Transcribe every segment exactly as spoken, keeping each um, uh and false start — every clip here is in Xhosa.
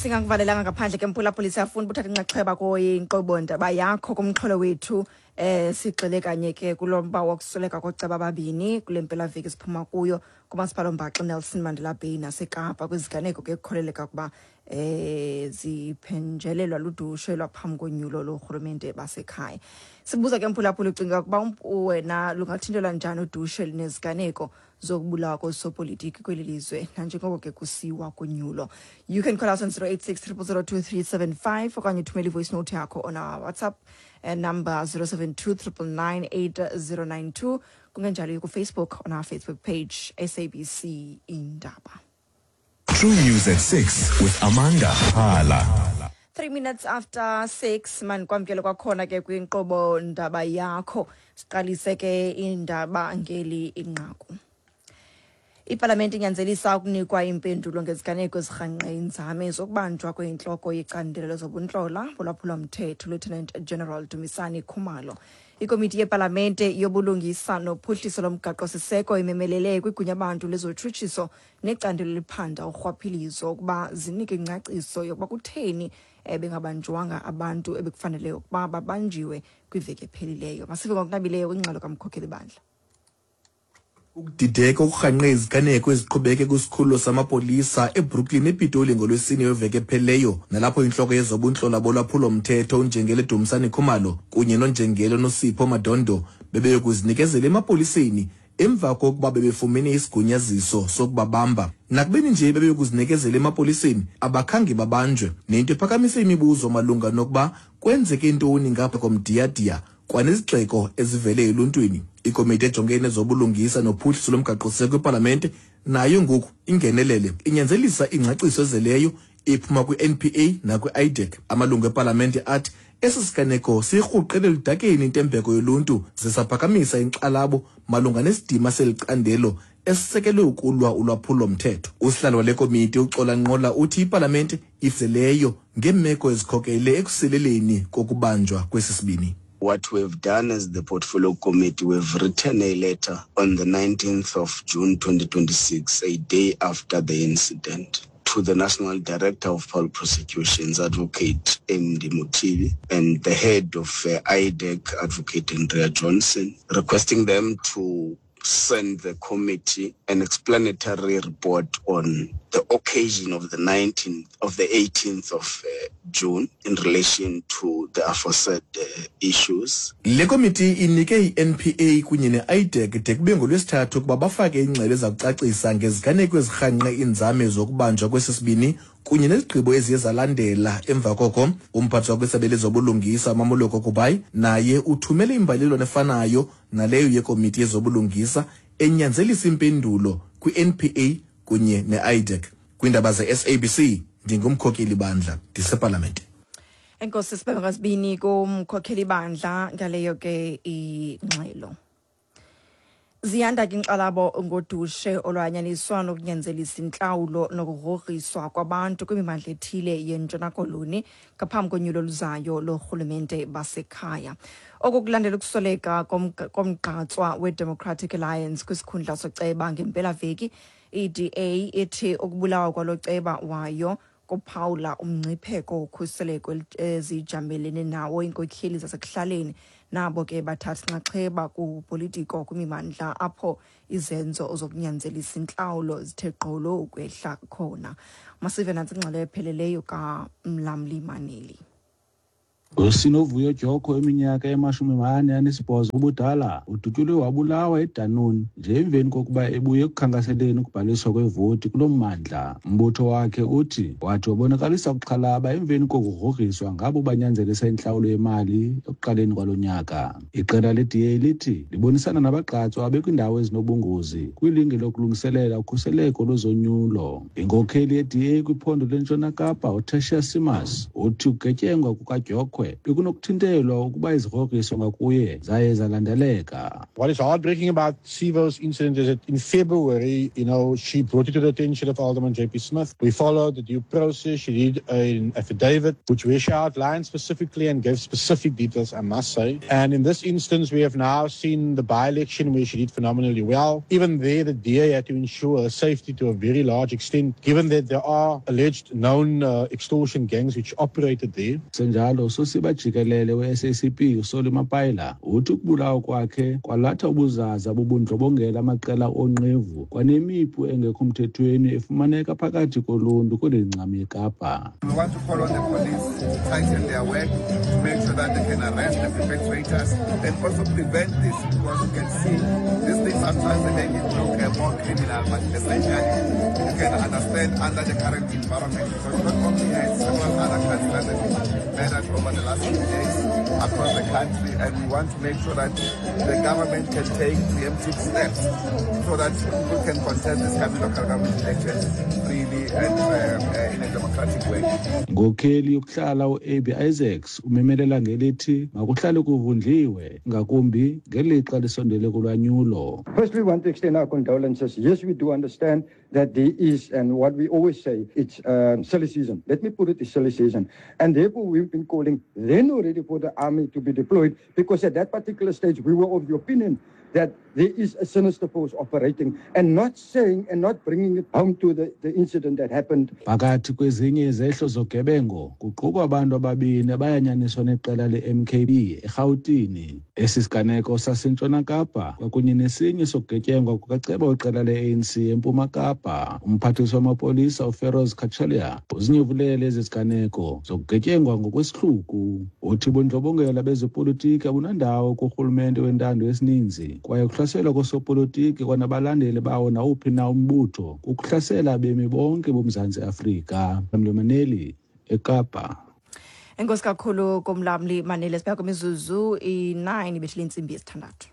Singakuvalelanga ngaphandle ke, mphulaphuli. Siyafuna uthatha inxaxheba kwinkqubo ndaba yakho kumxholo wethu. eh sigxile kanye ke kulo mba wokusweleka kooceba ababini kule mpelaveki siphuma kuyo kumasipala ombaxa Nelson Mandela Bay naseKapa, kwiziganeko ke kukholeleka ukuba eh ziphenjelelwa ludushe lwaphambi konyulo lorhulumente basekhaya. Sibuza ke, mphulaphula, ucinga ukuba wena lungathintelwa njani udushe neziganeko zokubulawa koosopolitiki kweli lizwe nanjengoko ke kusiwa kunyulo? You can call us on zero eight six zero zero zero two three seven five okanye uthumele i-voice note yakho on our WhatsApp uh, number zero seven two nine nine nine eight zero nine two. Kungenjalo ku-Facebook, on our Facebook page, S A B C Indaba. True News at six with Amanda Hala. three minutes after six, manikwamkele kwakhona ke kwinkqubo ndaba yakho. Siqalise ke indaba ngeli inqaku: Ipalamente inyanzelisa ukunikwa impendulo ngeziganeko ezirhangqe inzame zokubanjwa kwentloko yecandelo lezobuntlola bolwaphulomthetho, Lieutenant General Dumisani Khumalo. Ikomiti yepalamente yobulungisa nophuhliso lomgaqo-siseko imemelele kwigunya-bantu lezotshutshiso necandelo eliphanda urhwaphilizo ukuba zinike ingcaciso yokuba kutheni eh, bengabanjwanga abantu ebekufanele ukuba babanjiwe kwiveki ephelileyo. Masive ngokunabileyo kwingxelo kamkhokheli bandla. Ukudideka okurhangqe iziganeko eziqhubeke kwisikhululo samapolisa eBrooklyn ePitoli ngoLwesine weveki ephelileyo, nalapho intloko yezobuntlola bolwaphulomthetho uNjengele Dumisani Khumalo kunye noNjengele Nosipho Madondo bebeyokuzinikezela emapoliseni emva kokuba bebefumene isigunyaziso sokubabamba. Nakubeni nje bebeyokuzinikezela emapoliseni, abakhange babanjwe, nento ephakamise imibuzo malunga nokuba kwenzeke ntoni ngapha komdiyadiya kwanezigxeko ezivele eluntwini. Ikomiti ejongene nezobulungisa nophuhliso lomgaqosiseko kwipalamente nayo ngoku ingenelele, inyanzelisa ingcaciso ezeleyo iphuma kwi-N P A nakwi-IDAC. Amalungu epalamente athi esi siganeko siyirhuqele eludakeni intembeko yoluntu, zisaphakamisa inkxalabo malunga nesidima seli candelo esisekelwe ukulwa ulwaphulo-mthetho. Usihlalo wale komiti, uXola Nqola, uthi ipalamente ifzeleyo ngeemeko ezikhokele ekusileleni kokubanjwa kwesi sibini. What we've done as the Portfolio Committee, we've written a letter on the nineteenth of June twenty twenty-six, a day after the incident, to the National Director of Public Prosecutions, Advocate M D Mothibi, and the head of uh, IDAC, Advocate Andrea Johnson, requesting them to send the committee an explanatory report on the occasion of the nineteenth of the eighteenth of uh, June in relation to the aforesaid uh, issues. Le komiti inike i-N P A kunye ne-IDAC de kube ngolwesithathu ukuba bafake ingxelo eza kucacisa ngeziganeko ezirhangqe iinzame zokubanjwa kwesi sibini kunye nezigqibo eziye zalandela emva koko. Umphathiswa kwisebe lezobulungisa, uMamoloko Kubayi, naye uthumele imbalelwano efanayo naleyo yekomiti yezobulungisa, enyanzelisa impendulo kwi-N P A kunye ne-IDAC. Kwiindaba ze-S A B C, ndingumkhokeli bandla, ndisepalamente. Enkosi, sibebe ngazibini kumkhokheli bandla ngaleyo ke ingxelo. Ziyanda ke inkxalabo ngodushe olwanyaniswa nokunyanzelisa intlawulo nokugrogriswa kwabantu kwimimandla ethile yeNtshona Koloni ngaphambi konyulo oluzayo lorhulumente basekhaya. Oku kulandela ukusweleka komgqatswa weDemocratic Alliance kwisikhundla soceba ngempelaveki. I-D A ithi ukubulawa kwalo ceba wayo kuphawula umngcipheko wokhuseleko ezijamelene nawo iinkokheli zasekuhlaleni nabo ke bathatha inxaxheba kupolitiko kwimimandla apho izenzo zokunyanzelisa intlawulo zithe gqolo ukwehla khona. Masive nantsi ingxelo epheleleyo kaMlamli Maneli. USinovuyo Dyoko, eminyaka emashumi mane anesibhozo ubudala, udutyulwe wabulawa eDunoon nje emveni kokuba ebuye ekukhankaseleni ukubhaliswa kwevoti kulo mmandla. Umbutho wakhe uthi wathi wabonakalisa ukuxhalaba emveni kokugrogriswa ngabo banyanzelisa intlawulo yemali ekuqaleni kwalo nyaka. Iqela le-D A lithi libonisana nabagqatswa abekwindawo ezinobungozi kwilinge lokulungiselela ukhuseleko lwezonyulo. Inkokheli ye-D A kwiphondo leNtshona Kapa, uTertuis Simmers, uthi ukugetyengwa kukaDyoko kwebhokhwe bekunokuthintelwa ukuba izigrogriso ngakuye zaye zalandeleka. What is heartbreaking about Sivo's incident is that in February, you know, she brought it to the attention of Alderman J P Smith. We followed the due process. She did an affidavit, which where she outlined specifically and gave specific details, I must say. And in this instance, we have now seen the by-election where she did phenomenally well. Even there, the D A had to ensure her safety to a very large extent, given that there are alleged known uh, extortion gangs which operated there. Senjalo, sosiba jikelele we-S A C P uSolly Mapaila uthi ukubulawa kwakhe kwalatha ubuzaza bobundlobongela amaqela onqevu kwanemipu engekho mthethweni efumaneka phakathi koluntu kweli ncam yeKapa. We want to call on the police to tighten their work, to make sure that they can arrest the perpetrators and also prevent this, because you can see these things sometimes they make it look uh, more criminal, but essentially you can understand under the current environment, because not only has several other councillors have been murdered over the last few days across the country, and we want to make sure that the government can take preemptive steps so that people can contest this coming local government elections freely and um, uh, in a democratic way. Ngokheli yokuhlala u-A B Isaacs umemelela ngelithi makuhlale kuvundliwe ngakumbi ngelixa lisondele kulwanyulo. Firstly, we want to extend our condolences. Yes, we do understand that there is, and what we always say, it's um, silly season. Let me put it, it's silly season. And therefore, we've been calling then already for the army to be deployed, because at that particular stage, we were of the opinion that there is a sinister force operating, and not saying and not bringing it home to the, the incident that happened. Phakathi kwezinye izehlo zogebengo kuqukwa abantu ababini abayanyaniswa neqela le-M K B eRhawutini. Esi siganeko saseNtshona Kapa kwakunye nesinye sokugetyengwa kukaceba weqela le-A N C eMpuma Kapa. Umphathiswa wamapolisa uFeroz Cachalia uzinyevulele ezi ziganeko zokugetyengwa ngokwesihluku. Uthi bundlobongela bezepolitiki abunandawo kurhulumente wentando yesininzi, kwaye ukuhlaselwa kosopolitiki kwanabalandeli bawo nawuphi na umbutho kukuhlasela abemi bonke boMzantsi Afrika. Mlomaneli, eKapa. Enkosi kakhulu komlamli Maneli. Sibheka kwimizuzu i-nine ibethile intsimbi yesithandathu.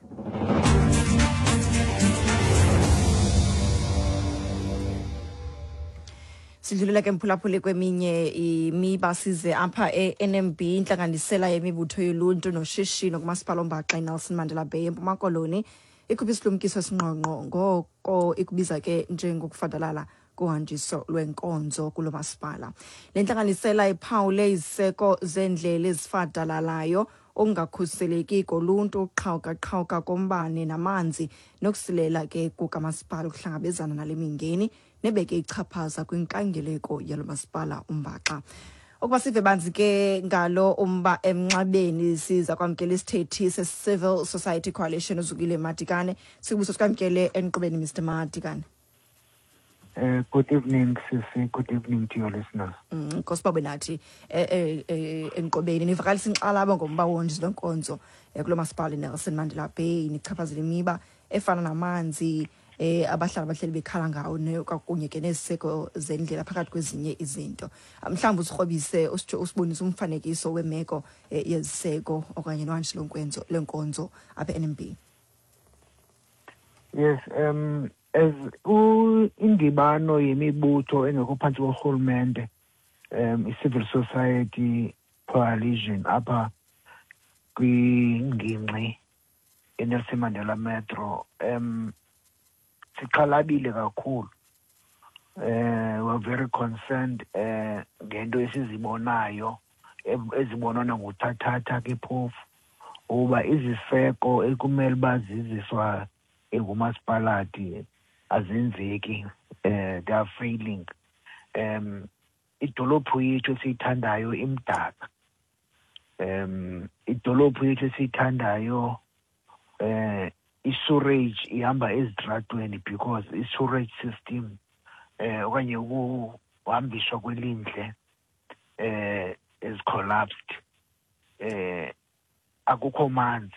Sidlulela ke mphulaphuli kweminye imiba, size apha e-N M B, intlanganisela yemibutho yoluntu noshishino kumasipala ombaxa iNelson Mandela Bay eMpuma Koloni ikhupha isilumkiso esingqongqo ngoko ikubiza ke njengokufadalala kuhanjiso lwenkonzo kulo masipala. Le ntlanganisela iphawule iziseko zendlela ezifadalalayo, okungakhuseleki koluntu, uqhawuka-qhawuka kombane namanzi, nokusilela ke kukamasipala ukuhlangabezana nale mingeni nebeke ichaphaza kwinkangeleko yalo masipala umbaxa. Ukuba sive banzi ke ngalo umba emnxabeni, siza kwamkela isithethi se-Civil Society Coalition uZukile Madikane. Sikubuso sikwamkele enqubeni, Mister Madikane. Uh, good evening, Sisi. Good evening to your listeners. Nkosi babe nathi enqubeni nivakalisa inkxalabo ngomba wonje lwenkonzo kulo masipala iNelson Mandela Bay, nichaphazela imiba efana namanzi eh abahlali abahleli bekhala ngawo kwakunye ke neziseko zendlela phakathi kwezinye izinto. Mhlawumbe usikrobise usibonise umfanekiso wemeko yeziseko okanye nohanjiso lwenkonzo lenkonzo apha e-N M B. Yes, um as indibano yemibutho engekho phantsi korhulumente, um i-Civil Society Coalition apha kwingingqi eNelson Mandela Metro, um sixhalabile kakhulu. Eh we're very concerned eh ngento esizibonayo ezibonwa nguthathatha ke phofu uba iziseko ekumele baziziswa engumasipalati azenzeki, eh they are failing. Um idolophu yethu esiyithandayo imdaka. Um idolophu yethu esiyithandayo eh i-sewerage ihamba ezitratweni because i-sewerage system eh okanye ukuhambiswa kwelindle eh is collapsed. Eh akukho manzi.